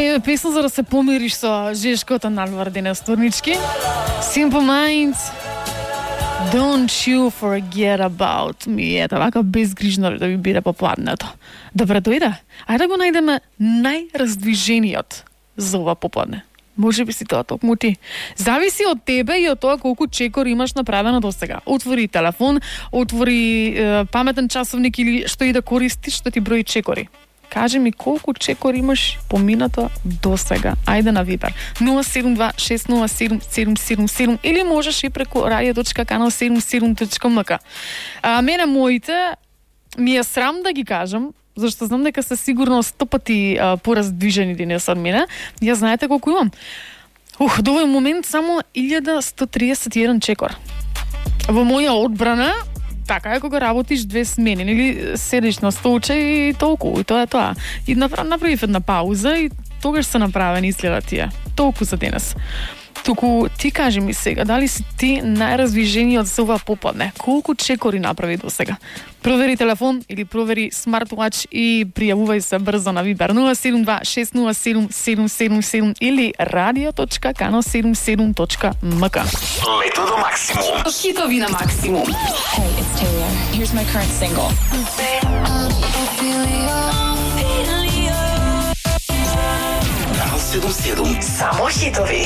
Пее песна за да се помириш со жешкото надвор денес турнички. Simple Minds, Don't you forget about me. Ето, вака безгрижно да ви биде попладнето. Добре дојде. Ајде да го најдеме најраздвижениот за ова попладне. Може би си тоа токму ти. Зависи од тебе и од тоа колку чекор имаш направено до сега. Отвори телефон, отвори паметен часовник или што и да користиш, што ти брои чекори. Кажи ми колку чекор имаш поминато до сега. Ајде на Вибер. 072-607-777 или можеш и преку radio.canal77.mk. Мене моите ми е срам да ги кажам, зашто знам дека се сигурно 100 пати пораздвижени денес од мене. Ја знаете колку имам? До овој момент само 1131 чекор. Во моја одбрана, така е кога работиш 2 смени, или седиш на столче и толку, и тоа е тоа. И направив една пауза и тогаш се направени изгледа тие. Толку за денес. Туку ти кажи ми сега, дали си ти најраздвижениот за ова попладне? Колку чекори направи до сега? Провери телефон или провери смарт-уач и пријавувај се брзо на Вибер 072-607-777 или radio.canal77.mk. Лето до максимум. Хитови на максимум. Hey, it's Taylor. Here's my current single. Канал 77. Само хитови.